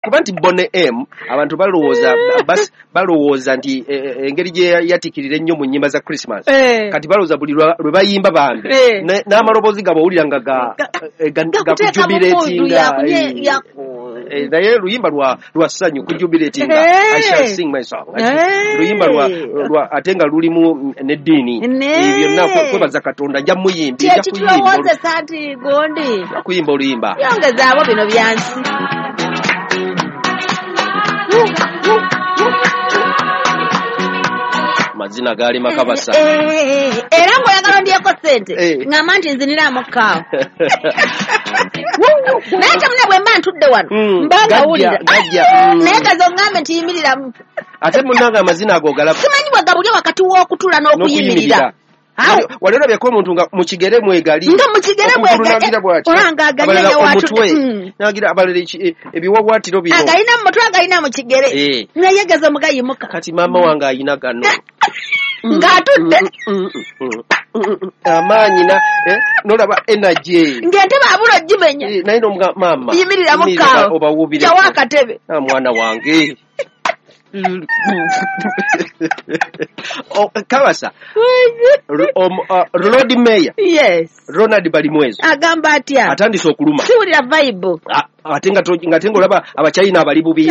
Kuba nti Boney M abantu balowooza nti engeri gye yatikirira ennyo mu nnyimba za Christmas, kati balowooza buli lwe bayimba bambi n'amaloboozi gaabwe owulira nga gakujubilatinga, naye luyimba lwa ssanyu kujubilatinga, I shall sing my song, luyimba lwa ate nga lulimu n'eddiini byonna kwebaza Katonda. Nja muyimbi, nja kuyimba oluyimba yongezaabo bino byansi. Mazina gaali makabasa. Era ng'oyagala ndyeko ssente ngamba nti nziniraamu kaawo. Naye temuna bwe mba ntudde wano mba ngawulira, naye gaze oŋŋambe nti yimiriramu. Ate munnange amazina ago galaba simanyi bwe gabulye wakati w'okutula n'okuyimirira. Wali olabyeko omuntu nga mu kigere mwegali, nga mu kigere mwegali olanga agalina omutwe nagira abalala ebiwawatiro bino agalina mu mutwe agalina mu kigere, naye gaze omugayimuka. Kati maama wange ayina gano ng'atudde amaanyi nolaba energy ng'entebe abula ogimenya, naye nomuga maama yimiriramu kaawo obawuubire jawo akatebe. Mwana wange Kabasa, Lord Mayor, yes, Ronald Balimwezo agamba atya? Atandise okuluma. Siwulira vibe. Ate nga ng'olaba Abachina abali bubi.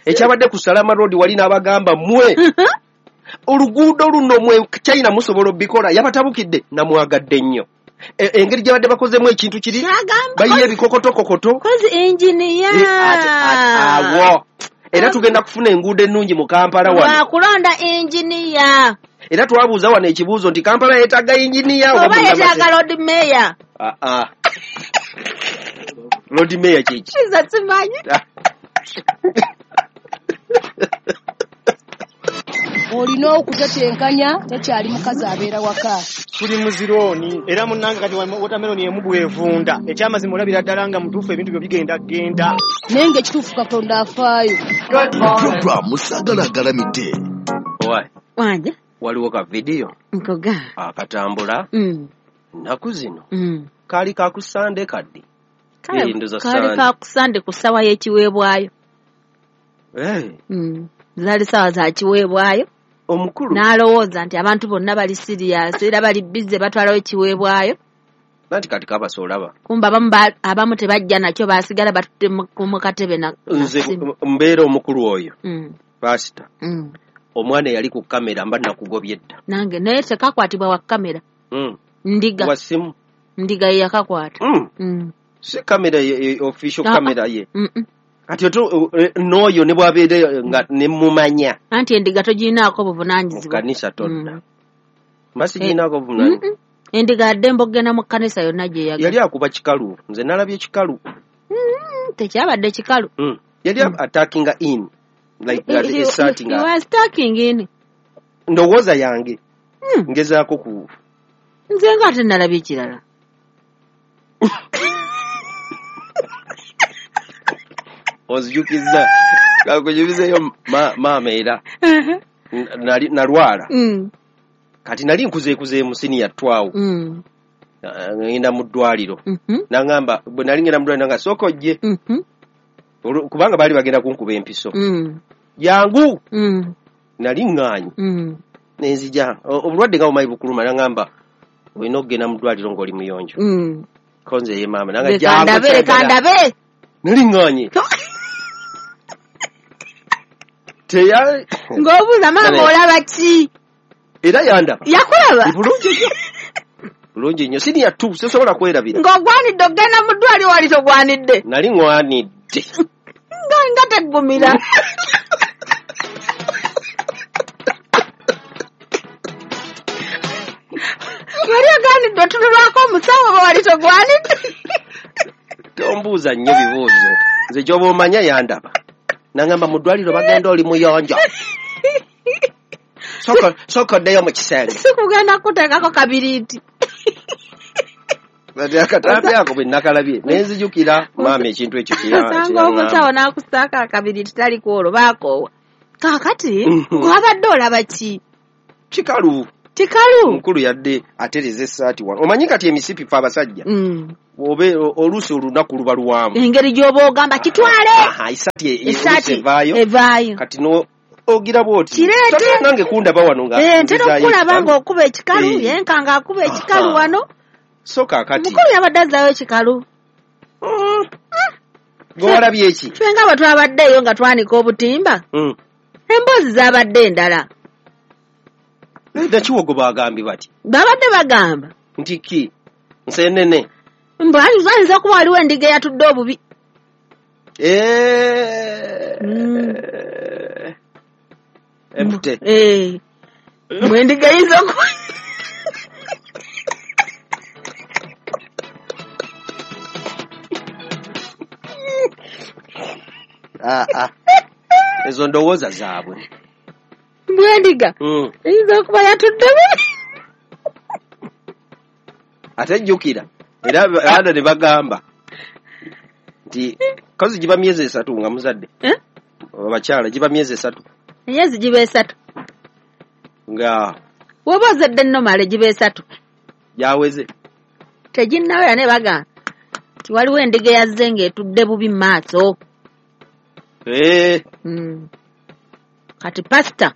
Ekyabadde ku Salama Road wali n'abagamba mmwe oluguudo luno mwe China musobola obikola, yabatabukidde namwagadde nnyo. Engeri gyabadde bakozemu ekintu kiri bayiye ebikokotokokoto. Kozi engineer. Awo. Era tugenda kufuna enguudo ennungi mu Kampala wano. Lwakulonda engineer. Era twabuuza wano ekibuuzo nti Kampala yeetaaga engineer oba yeetaaga Lord Mayor? Lord Mayor kiki? Nze simanyi. Olina okutetenkanya, tekyali mukazi abeera waka. Tuli muzirooni era munnange kati watermelon emu bwevunda. Ekyamazima olabira ddala nga mutuufu ebintu byo bigenda genda. Naye ng'ekituufu Katonda afaayo. Program Sagala Galamidde. Wanje waliwo ka vidiyo nkoga akatambula nnaku zino. Kaali ka ku Sande kaddi. Kaali ka ku Sande ku ssaawa y'ekiweebwayo. Zaali ssaawa za kiweebwayo. Omukulu n'alowooza nti abantu bonna bali serious era bali busy batwalawo ekiweebwayo. Anti kati Kabasa olaba kumba abamu tebajja nakyo basigala batudde mu katebe. Nze mbeera omukulu oyo pasita, omwana eyali ku kamera mba nakugobye dda. Nange naye tekakwatibwa wa kamera. Ndiga wa simu, ndiga ye yakakwata. Si kamera official kamera ye. Kati n'oyo ne bw'abeera nga ne mumanya. Anti endiga togirinaako buvunaanyizibwa. Mu kkanisa todda. Mba sigirinaako buvunaanyizibwa. Endiga addembe okugenda mu kkanisa yonna gye yagala. Yali akuba kikalu. Nze nalabye kikalu. Tekyabadde kikalu. Yali attacking in. Like starting. He was attacking in. Ndowooza yange. Ngezaako ku. Nze nga ate nalabye ekirala. Ozijukiza kakujubizeyo maama era nalwala. Kati nali nkuzeekuze mu siniya 12. Ngenda mu ddwaliro. Nangamba bwe nali ngenda mu ddwaliro nanga sooka ojje. Kubanga baali bagenda kunkuba empiso. Yangu. Nali ŋŋaanyi. Nenzija obulwadde nga bumanyi bukuluma, nangamba olina okugenda mu ddwaliro ng'oli muyonjo. Ko nze ye maama nanga jangu. Kandabe. Nali ŋŋaanyi. Ng'obuuza maama olaba ki? Era yandaba. Yakulaba? Bulungi nnyo. Bulungi nnyo. Siniya 2 sisobola kwerabira. Ng'ogwanidde okugenda mu ddwaliro wali togwanidde? Nali ŋŋwanidde. Nga teggumira. Wali ogwanidde otunulwako omusawo oba wali togwanidde? Tombuuza nnyo bibuuzo. Nze gy'oba omanya yandaba. Nangamba mu ddwaliro bagenda oli muyonjo. Sooka oddeyo mu kisenge. Sikugenda kuteekako kabiriiti. Kati akatambi ako bwe nakalabye ne nzijukira maama ekintu ekyo Osanga omusawo n'akusaako akabiriiti tali ku olwo baakoowa. Kaakati gwabadde olaba ki? Kikalu. Kikalu? Omukulu yadde atereza essaati wano. Omanyi kati emisipi fe abasajja. Obe oluusi olunaku luba luwanvu. Engeri gy'oba ogamba kitwale. Esaati evaayo. Kati no ogira bw'oti. Kireete. Nange kundaba wano nga. Ntera okulaba ng'okuba ekikalu, yenka ng'akuba ekikalu wano. So kaakati. Mukulu yabadde azzaayo ekikalu. Gwe walabye eki? Ffe nga bwe twabaddeeyo nga twanika obutimba. Emboozi zaabadde endala. Nakiwogo baagambye bati. Babadde bagamba. Nti ki? Nseenene. Mbu ayinza okuba waliwo endiga eyatudde obubi. Empute. Mbu endiga eyinza okuba. Ezo ndowooza zaabwe. Mbu endiga eyinza okuba yatudde bubi. Ate jjukira. Era abaana ne bagamba nti kazi giba myezi 3 nga muzadde. Abakyala giba myezi 3. Emyezi giba 3. Nga woba ozadde nnomale giba 3. Yaweze. Teginnawera ne bagamba nti waliwo endiga eyazze ng'etudde bubi mu maaso. Kati pasita.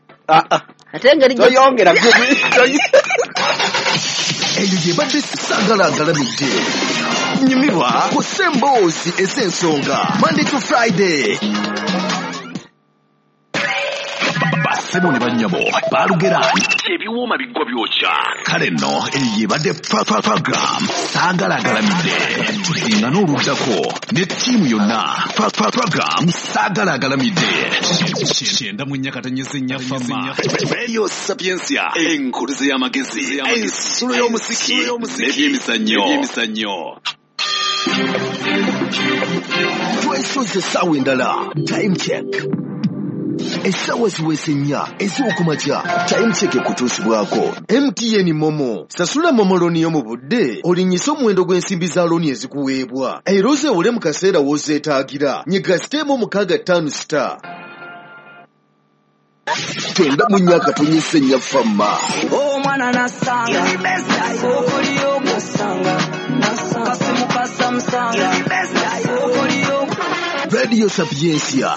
Ate engeri toyongera. Eyo gye badde Saagala Agalamidde. Nyumirwa ku ssemboozi ez'ensonga Monday to Friday. Bassebo ne bannyabo baalugera ebiwooma biggwa byokya. Kale nno eyo ebadde program Saagala Agalamidde. Tusinga n'oluddako ne ttiimu yonna. Program Saagala Agalamidde. 94.4 Fama. Radio Sapientia. Enkuluze y'amagezi. Ensulo y'omuziki. N'ebyemizannyo. Twesoze essaawa endala. Time check. Essaawa ziweze 4 ez'okumakya. Time check ekutuusibwako MTN Momo. Sasula Momo looni yo mu budde olinnyise omuwendo gw'ensimbi za looni ezikuweebwa era ozeewole mu kaseera w'ozeetaagira. Nyiga *656*. 94.4 Fama. Omwana nasanga okoliyo nasanga kasimu kasamusanga okoliyo Radio Sapientia.